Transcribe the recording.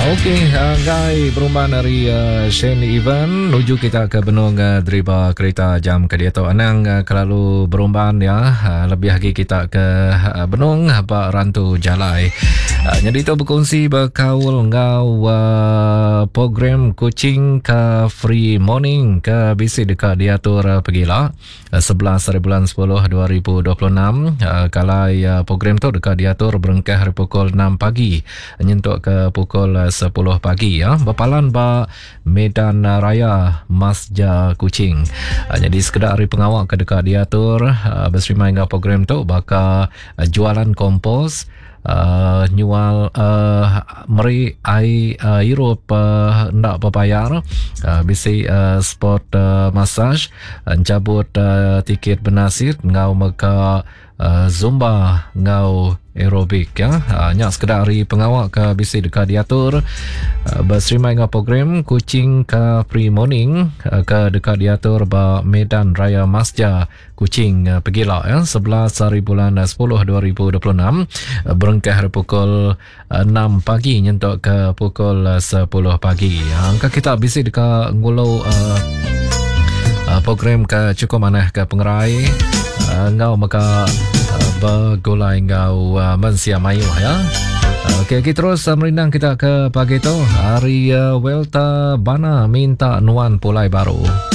Okey, enggai berumban ari Shane Evan nuju kita ke benung deriba kerita jam ke diatu. Anang kelalu berumban ya, lebih agi kita ke benung ba rantu jalai. Nyadi tu berkongsi bekaul enggau program Kuching Car Free Morning ke bisi deka diatur pegila. 11 hari bulan 10 2026 kalai program tu deka diatur berengkah ari pukul 6 pagi nyentuk ke pukul 10 pagi ya bepalan ba Medan Raya Masja Kuching. Nyadi sekeda ari pengawa ke deka diatur beserimai enggau program tu baka jualan kompos Uh, nyual uh, meri ai uh, irup uh, enda bebayar uh, bisi uh, spot uh, massage encabut uh, tiket benasit enggau mega uh, zumba enggau aerobik ya. Uh, nya sekeda ari pengawa ke bisi deka diatur uh, beserimai enggau program Kuching Car Free Morning uh, ke deka diatur ba Medan Raya Masja Kuching pegila ya 11 hari bulan 10 2026 berengkah hari pukul 6 pagi nyentuk ke pukul 10 pagi. Angka kita bisi deka ngulu uh, uh, program ke cukup manah ke pengerai uh, enggau mega uh, begulai enggau uh, mensia mayuh ya. Okey, okay, terus uh, merindang kita ke pagi tu hari uh, Welta Bana minta nuan pulai baru.